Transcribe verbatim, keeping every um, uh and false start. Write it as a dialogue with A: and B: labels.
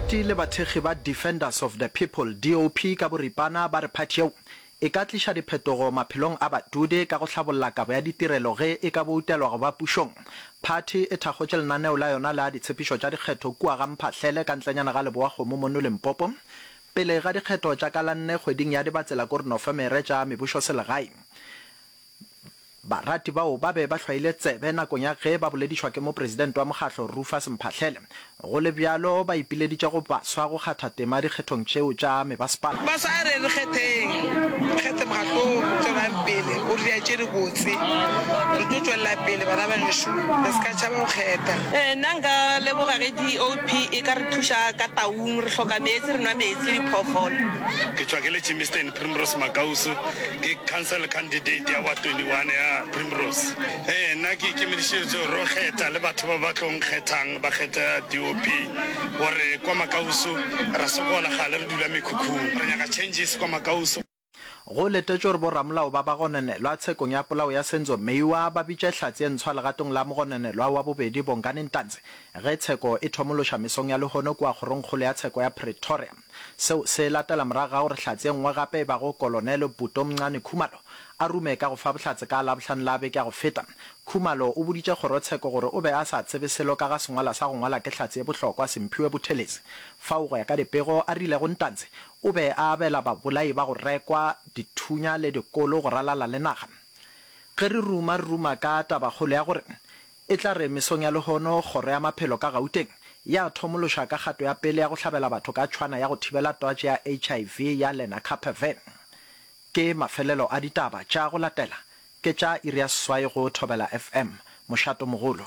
A: Barati le bathekgi ba Defenders of the People, D O P ka boripana, ba re phathi yeo e ka tliša diphetogo maphelong a badudi ka go hlabolla kabo ya ditirelo ge e ka boutelwa go ba pušong. Phathi e thakgotše lenaneo la yona la ditshepišo tša dikgetho kua ga Mphahlele ka ntlenyana ga Lebowakgomo mono Limpopo pele ga dikgetho tša ka la nne kgweding ya Dibatsela kore Nofemere tša mebušoselegae. Barati bao ba be ba hlwaile tsebe nakong ya ge ba boledišwa ke mopresidente wa mokgatlo Rufus Mphahlele. Go le bjalo, ba ipileditše go baswa go kgatha tema dikgethong tšeo tša mebasepala.
B: Baswa a re re kgetheng, re kgethe mokgatlo o re tswelang pele, o re dira tše dibotse. Re tlo tšwelela pele bana ba gešo, re se ka tšhaba go kgetha.
C: Nna nka leboga ge D O P e ka re thuša ka Taung, re hloka meetse, re nwa meetse le diphoofolo.
D: Ke tšwa ke le Germiston, Primrose Makausu, ke council candidate ya Ward twenty-one ya Primrose. Ee, nna ke ikemišeditše gore ro kgetha le batho ba ba tlo nkgethang ba kgetha D O P, gore kwa Makausu ra sokola, gale re dula mekhukhung, re nyaka changes kwa Makausu.
A: Go letetšwe gore boramolao ba bagononelwa tshekong ya polao ya Senzo Meyiwa ba bitše hlatse ye ntshwa legatong la mogononelwa wa bobedi Bongani Ntanzi ge tsheko e thomološa mesong ya lehono kua kgorongkgolo ya tsheko ya Pretoria. Seo se latela morago ga gore hlatse ye nngwe gape e bago Kolonele Butomncane Khumalo a rume ka go fa bohlatse ka Labohlano la beke ya go feta. Khumalo o boditše kgorotsheko gore o be a sa tsebe selo ka ga sengwalwa sa go ngwala ke hlatse ye bohlokwa Simphiwe Buthelezi, fao go ya ka dipego a rilego Ntanzi o be a abela babolai ba go rekwa dithunya le dikolo go ralala le naga. Ge re ruma, re ruma ka tabakgolo ya gore e tla re mesong ya lehono kgoro ya maphelo ka Gauteng ya thomološa ka kgato ya pele ya go hlabela batho ka tšhwana ya go thibela twatši ya H I V ya Lenacapavir. Ke mafelelo a ditaba tša go latela ke tša iri ya seswai go Thobela F M, mošatomogolo.